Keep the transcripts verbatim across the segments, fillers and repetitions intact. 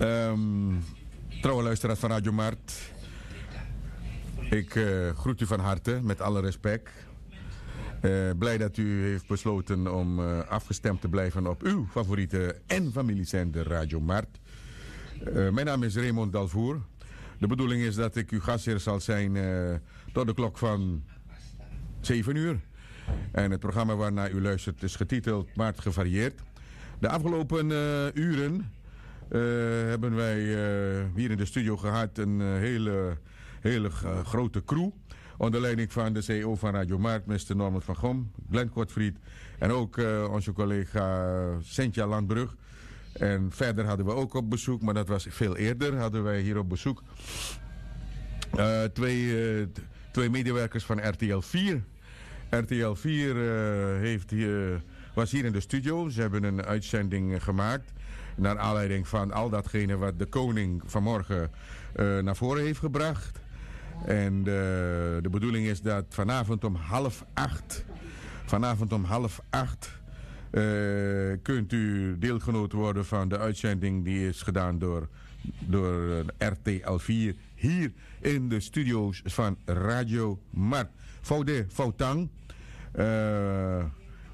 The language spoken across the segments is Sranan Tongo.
Ehm, trouwe luisteraars van Radio Mart, ik eh, groet u van harte met alle respect. Eh, blij dat u heeft besloten om eh, afgestemd te blijven op uw favoriete en familiezender Radio Mart. Eh, mijn naam is Raymond Dalvoer. De bedoeling is dat ik uw gastheer zal zijn eh, tot de klok van zeven uur. En het programma waarnaar u luistert is getiteld Maart Gevarieerd. De afgelopen eh, uren eh, hebben wij eh, hier in de studio gehad een eh, hele, hele g- grote crew. Onder leiding van de C E O van Radio Markt, mister Norman van Gom, Glenn Kortfried. En ook eh, onze collega Cynthia Landbrug. En verder hadden we ook op bezoek, maar dat was veel eerder, hadden wij hier op bezoek eh, twee, eh, twee medewerkers van R T L vier. R T L vier eh, heeft hier, was hier in de studio. Ze hebben een uitzending gemaakt naar aanleiding van al datgene wat de koning vanmorgen eh, naar voren heeft gebracht. En eh, de bedoeling is dat vanavond om half acht, vanavond om half acht, eh, kunt u deelgenoot worden van de uitzending die is gedaan door, door eh, R T L vier hier in de studio's van Radio Mart. Faude, Fautang. Eh,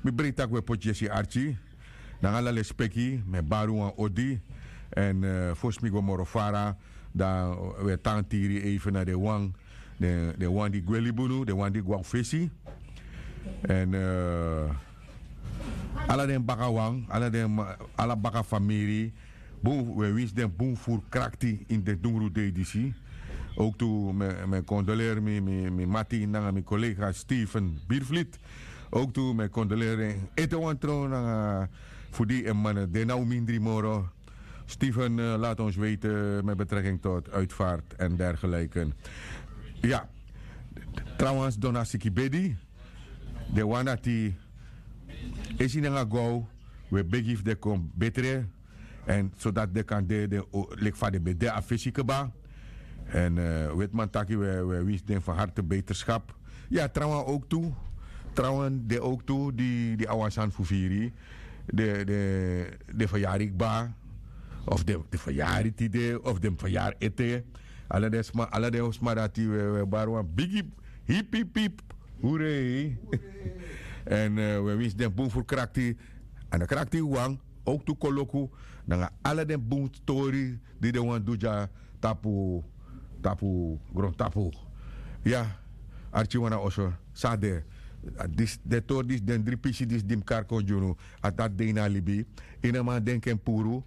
mi breed tak' we poti Jesse Archie. Nanga ala lespeki, mi e bari wan odi. En eh, fosi mi go moro fara, dan we tan tiri even na den wan, den, den wan di gwe libi unu, den wan di gwe a fesi. En eh, ala den baka wan, ala den ma- ala baka famiri, bun, we winsi den bun furu krakti ini den dungru dei disi. Ook tu mi, mi kondoleri mi, mi, mi mati nanga mi collega Steven Biervliet. Ook tu mi kondoleri en ete wan tron nanga fu di en man de na un mindri moro. Steven eh, laat ons weten met betrekking tot uitvaart en dergelijke. Ja, trouwens, dona siki bedi, den wan dati esi nanga go, we begi fu den kon betre. En zodat den kan de, de o- leki fa den ben de a fesi kba. En eh, wetiman taki we, we winsi den van harte beterschap. Ya, trawan ook tu. Trawan de ook tu, di, di a wan sani fu firi. De, de, de fayari kba. Of de, de fayari tide, of de fayari ete. Ala den sma, ala den sma dati we, we bari wan bigi hip hip hip. Hurei. En eh, we winsi den bun fu krakti. En de krakti wan, ook tu koloku. Nanga ala den bun tori di den wan du dya tapu, tapu, grontapu. Ya, Archie wan na oso, san a de. A dis, den tori disi, den dri pisi disi di mi kari kon gi unu, a dati de ini a libi. Yu no man denki en puru,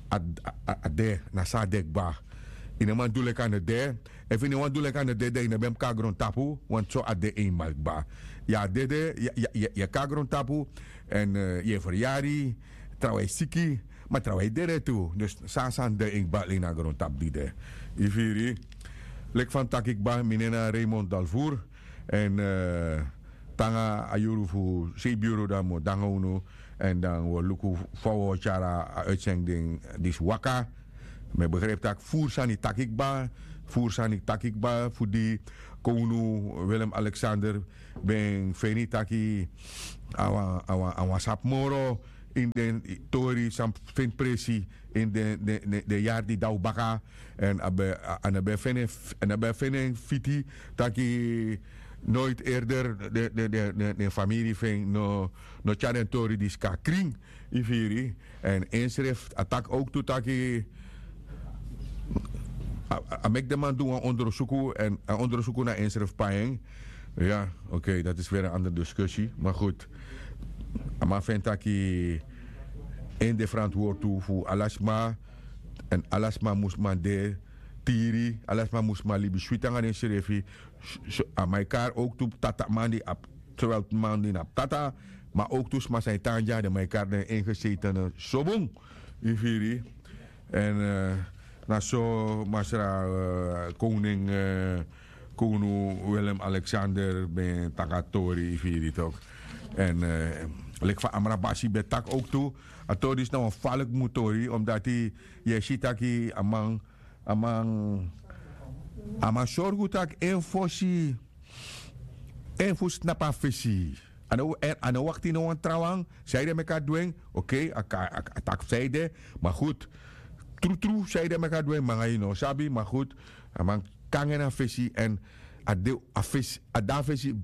a, a, a, a de, na san a de kba. Yu no man du leki a no de. Efu yu no wani du leki a no de, dan yu no ben mus kon na grontapu, want so a de eenmaal kba. Yu a dede, yu, yu, yu, yu kon na grontapu, en eh, yu e feryari, trawan e siki, ma trawan e dede tu. Dus san, san de en kba len na grontapu di de. Yu firi, leki fa mi taki kba, mi nen na Raymond Dalvoer. En eh, te nanga a yuru fu seibin yuru dan mi o de nanga unu. En dan wi o luku fa wi o tyari a uitzending disi waka. Mi e begrijpi tak' furu sani taki kba, furu sani taki kba fu di kownu Willem Alexander ben feni taki a wan, a wan, a wan sabi moro ini den tori san feni presi ini den, den, den, den yari di daw baka. En a ben, a, a no ben feni en f-, a no ben feni en fiti taki nooit eerder den, den, den, den, den famiri fu en no, no tyari den tori disi kon na krin. Yu firi. En ensrefi a taki ook tu taki a, a, a meki den man du wan ondersuku, en a ondersuku na ensrefi pai en. Ya, oké, dat is weer een andere discussie. Maar goed, a man feni taki en de verantwoord tu fu ala sma, en ala sma mus man de tiri, ala sma mus man libi switi nanga densrefi. S-, s-, a man e kari ook tu tata man di abi, zowel man di no abi tata, ma ook tu sma san e tan dya, den man e kari den ingezetene so bun. Yu firi. En eh, na so masra eh, koning, eh, kownu Willem Alexander ben taki a tori, yu firi tok. En eh, leki fa Amrabasi ben taki ook tu, a tori disi na wan faliki mu tori, omdati yu e si taki a man, a man, a man sorgu tak' en fosi, en fu snapu a fesi. A no, en, a no wakti no wan trawan, sanede meki a du en, oké, a, a, a, a taki fu sanede, maar goed. Trutru san ede meki a du en manga yu no sabi ma gud. A man kange na fesi èn a de a fesi a de a fesi.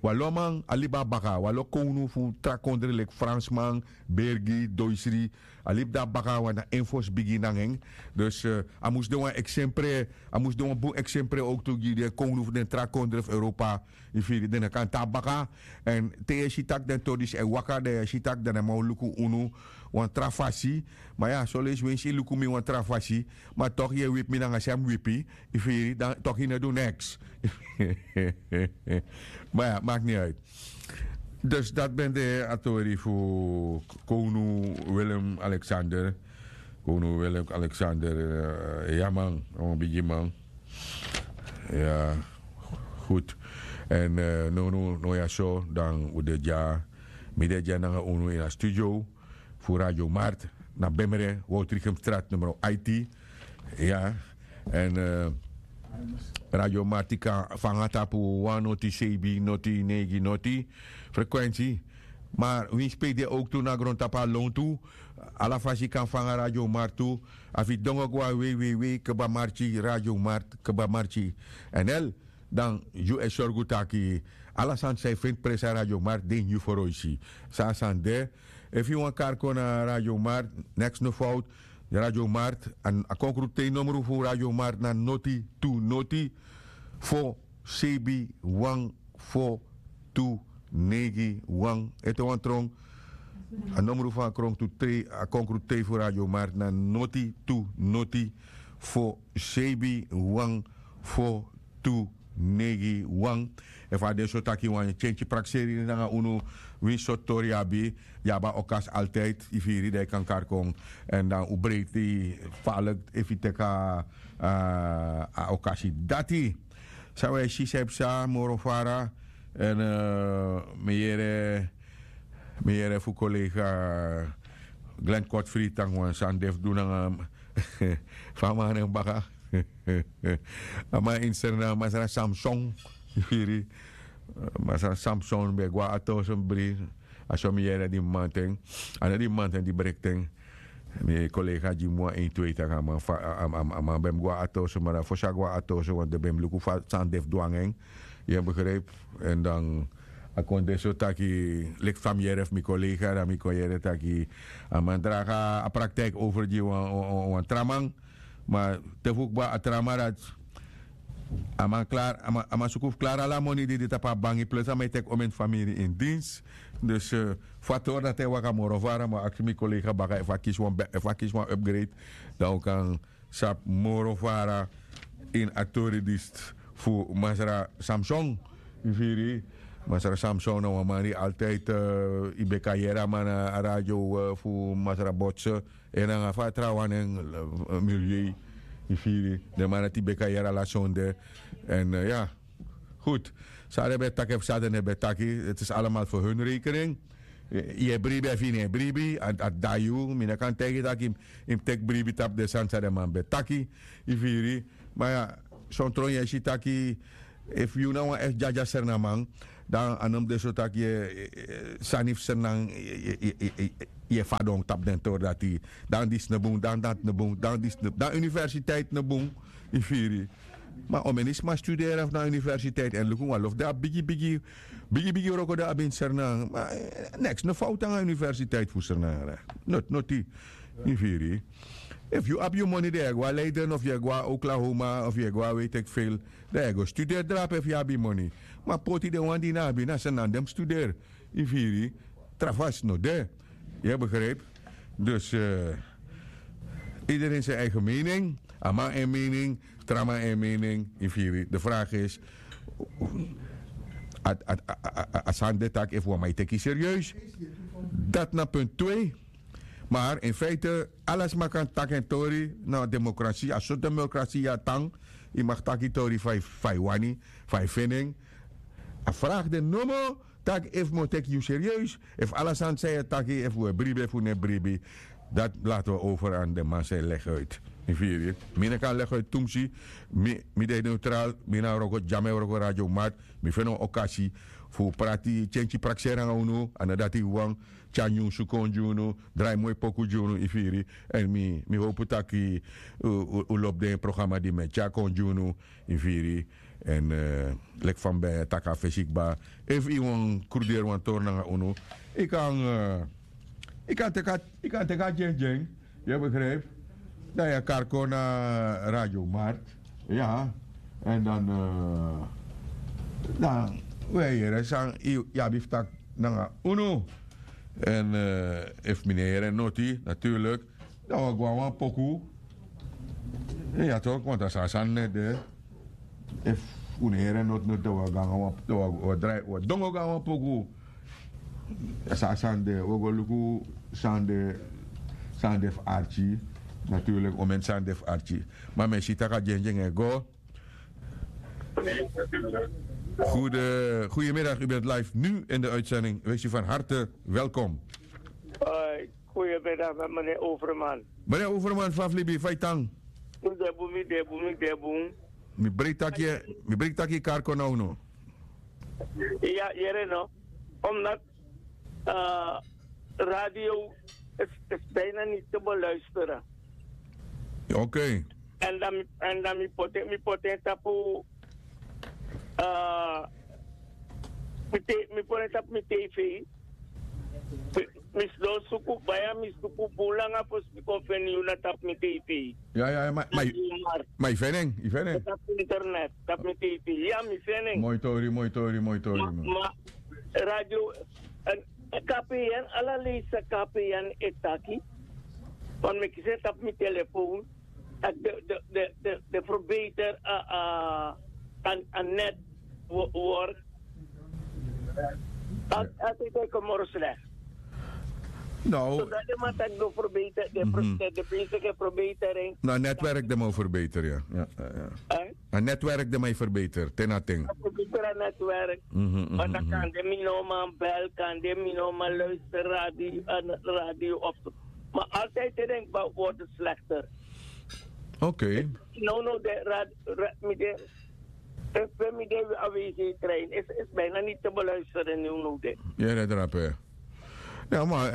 Wan lo man a libi na baka wan lo kownu fu tra kondre leki fransman, bergi, doisri. A libi de na baka wan na en fosi bigi nanga en. Dus a mus de wan eksempre a mus de wan bun eksempre owktu gi den kownu fu den tra kondre fu europa. Yu firi den no kan tan na baka. Èn te yu e si tak' den tori disi e waka dan yu e si tak' den na man o luku unu wan tra fasi. Ma ya soleisi winsi yu luku mi wan tra fasi ma tok' yu e wipi mi nanga san yu mus wipi. Yu firi dan tok' yu no du neks. Ma ya maki ni uit. Dus dati ben de a tori fu kownu willem alexander. Kownu willem alexander. Ya man a wan bigiman. Ya. Goed. Èn nownow no ya so dan un de dya. Mi de dya nanga unu ini a studio fu radio mart na bemre woutrichem strat numero aiti. Ya. Èn radio mart yu kan fanga tapu wan noti sebi noti neigi noti frekwensi. Ma winsi pe yu de owktu na grontapu a lontu ala fasi yu kan fanga radio mart tu. Efu yu dongo go na wei wei wei kba marki radio mart kba marki nl. Dan yu e sorgu taki ala sani san yu feni presi na radio mart de ini yu foroisi. San a sani de efu yu wani kari kon na radio mart neks no fowtu. Radio mart a konkrutei nomru fu radio mart na noti tu noti fo sebi wan fo tu neigi wan ete wan tron. A nomru fu a konkrutei a konkrutei fu radio mart na noti tu noti fo sebi wan fo tu neigi wan. Efu a de so taki wan tyentyi prakseri nanga unu winsi sortu tori yu abi yu abi a okasi altijdi yu firi dan yu kan kari kon. Èn dan un breiti falik efu yu teki a okasi dati. San wi e si san e psa moro fara. Èn mi yere mi yere fu kolega glen kotfri tangi wan sani de fu du nanga fa a man na en baka. A man ini srna masra samson. Yu firi masra samson ben e go na atoso bri. A so mi yere di mi manten a no di mi manten di brekten. Mi kolega gi mi wan eintwei taki a man ben mus go na atoso ma dan fosi a go na atoso want den ben mus luku fa sani de fu du nanga en. Yu e begripi? Èn dan a kon de so taki leki fa mi yere fu mi kolega dan mi kon yere taki a man draga a praktiki over gi wan tra man. Ma te fu kba a tra man dati a man klari a man suku fu klari ala moni di de tapu a bangi plus a man e teki omen famiri ini dins. Dus fu a tori dati e waka moro fara mi o aksi mi kolega baka efu a kisi wan upgrade. Dan un kan sabi moro fara ini a tori disi fu masra samson. Yu firi masra samson na wan man di altijdi yu ben kan yere a man na a radio fu masra botse. En nanga fa a trawan nen milieu. Yu firi den man dati yu ben kan yere ala sonde. En ya. Goed. San den ben taki efu san den no ben taki het is alamal fu hun rekening. Yu e bribi efu yu no e bribi a dati dai yu mi no kan taigi yu tak' yu mus teki bribi tapu den sani san den man ben taki. Yu firi. Ma ya son tron yu e si taki efu yu na wan efu dyadya srnaman dan a no mus de so tak' yu e sani fu srnan yu e fadon tapu den tori dati. Dan disi no bun dan dati no bun dan disi no bun dan universiteit no bun. Yu firi. Ma omeni sma studeri efu na universiteit èn luku wan lofu den abi bigi bigi bigi wroko den abi ini srnan. Neks no fowtu nanga universiteit fu srnan noti. Yu firi. Efu yu abi yu moni dan yu e go na leiden of yu e go na oklahoma of yu e go na weiteki feil. Dan yu e go studeri drape efu yu abi yu moni. Ma poti den wan di yu no abi na srnan den mus studeri. Yu firi. Tra fasi no de. Yu e begripi? Dus ideren sen eigen mening. A man en mening. Tra man en mening. Yu firi de vraag is a sani de taki efu wan man yu teki yu serieus. Dati na punt twee. Maar in feite ala sma kan taki en tori na demokrasi a so demokrasi ya tan. Yu mag taki tori fa yu wani fa yu feni en. A vraag de nomo tak' efu mi o teki yu serieus efu ala sani san yu e taki efu un e bribi efu un no e bribi. Dati lati wi over an den man san e legi uit. Mi firi mi no kan legi uit tumsi. Mi de neutral mi na wroko dyame wroko radio mart. Mi feni wan okasi fu prati tyenty prakseri nanga unu, a no dati wan, tyari nyunsu kon gi unu, drai moi poku gi unu, yu firi. Èn mi mi howpu taki un lobi den programa di mi e tyari kon gi unu, yu firi. Èn leki fa mi ben e taki a fesi kba, efu yu wani kruderi wan tori nanga unu, yu kan yu kan teki a yu kan teki a dyendyen. Yu e begripi? Dan yu e kari kon na radio mart. Ya. Èn dan dan un e yere san yu abi fu taki nanga unu. Èn efu mi no e yere noti naturlik, dan wi o go na wan poku. Ya tok' want a so a sani no e de. Efu un no e yere noti noti dan wi o go nanga wan dan wi o drai wi o dongo go nanga wan poku. San a sani de wi o go luku san de san de fu arki. Naturlik omeni san de fu arki. Ma mi e si tak' a dyendyen e go. Goede goede middag u bent live nu in de uitzending wees u van harte welkom. Goede middag met meneer overman. Meneer overman fa fu libi fa yu tan? Mi de bun mi de bun mi de bun. Mi breiti taki yu kari kon na unu. Ya yere no. Omdat radio is bijna niet te beluisteren. Oké. En dan mi poti en tapu mi poti en tapu mi tv. Mi sidon suku baya mi suku bun langa fosi mi kon feni yu na tapu mi tv. Ya ya ma yu feni en yu feni en. Tapu internet tapu mi tv ya mi feni en. Moi tori moi tori moi tori. Ma radio en kpn ala leisi san kpn e taki. Wan mi kisi en tapu mi telefoon. De de de de de verbeter a a a net work. Altijd een commerce slecht. No. Zodat de man tak do verbeter de de bezige verbetering. No netwerk de mo verbeter ya. A netwerk de mo verbeter ten a ten. Verbeter a netwerk. Want dan kan de mi no man bel kan de mi no man luister radio radio of maar altijd te denkbaar worden slechter. Oké. No no de radio mi de. Efu mi de a wc trein is bijna niet te beluisteren nu no de. Yere drape. Ya ma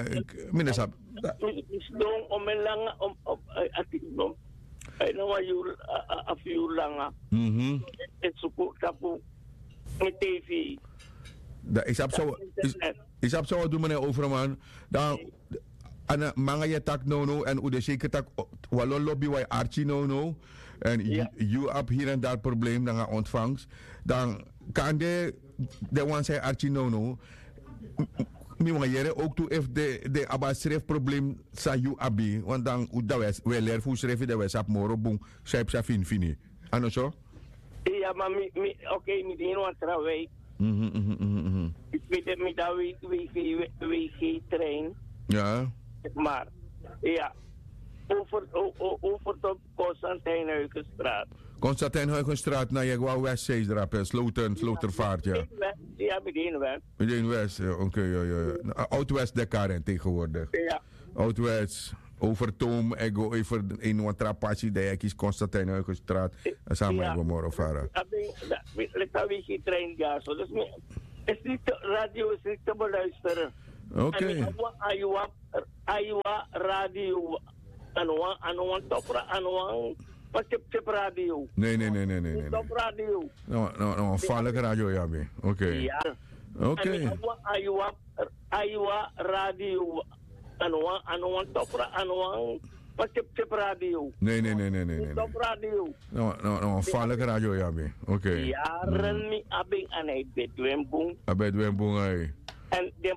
mi no sabi. Mi sidon om en langa om om ati no. Ai na wan yuru a fu yuru langa. Mhm. E suku tapu mi tv. Dan yu sabi san wi o du meneer overman. Dan a na manga yu e taki nownow èn un de seker tak' wi a lon lobi wi a e arki nownow. Èn yu abi hiri èn dari problem nanga ontfangs. Dan kande den wan san e arki nownow. Mi wani yere owktu efu den abi a srefi problem san yu abi want dan wi e leri fu unsrefi dan wi e sabi moro bun san yu psa finifini. A no so? Ya ma mi mi ok mi de ini wan tra wijk. Mi de mi de a wijk wg trein. Ya. Maar ya. Over over tot Constantijnhuigenstraat. Constantijnhuigenstraat na yu e go a west seis drape sloten slotervaart ya. Ya mi de ini west. Mi de ini west. Ok. Oud west dekaren tegenwoordig. Ya. Oud west. Overtoom e go over ini wan tra pasi dan yu e kisi Constantijnhuigen straat. Sama e go moro fara. Leki a wiki trein dyaso dus mi is niet radio is niet te beluisteren. Ok. Ayu a ayu a radio. A no wan a no wan top ra a no wan. Wan tip tip radio. Ne ne ne ne ne ne. Top radio. No no no wan falek radio ya mi. Ok. Ok. Ayu a ayu a radio. A no wan a no wan top ra a no wan. Wan tip tip radio. Ne ne ne ne ne ne. Top radio. No no no wan falek radio ya mi. Ok. Yaren mi abi en a na e bedwin bun. A bedwin bun ai. En den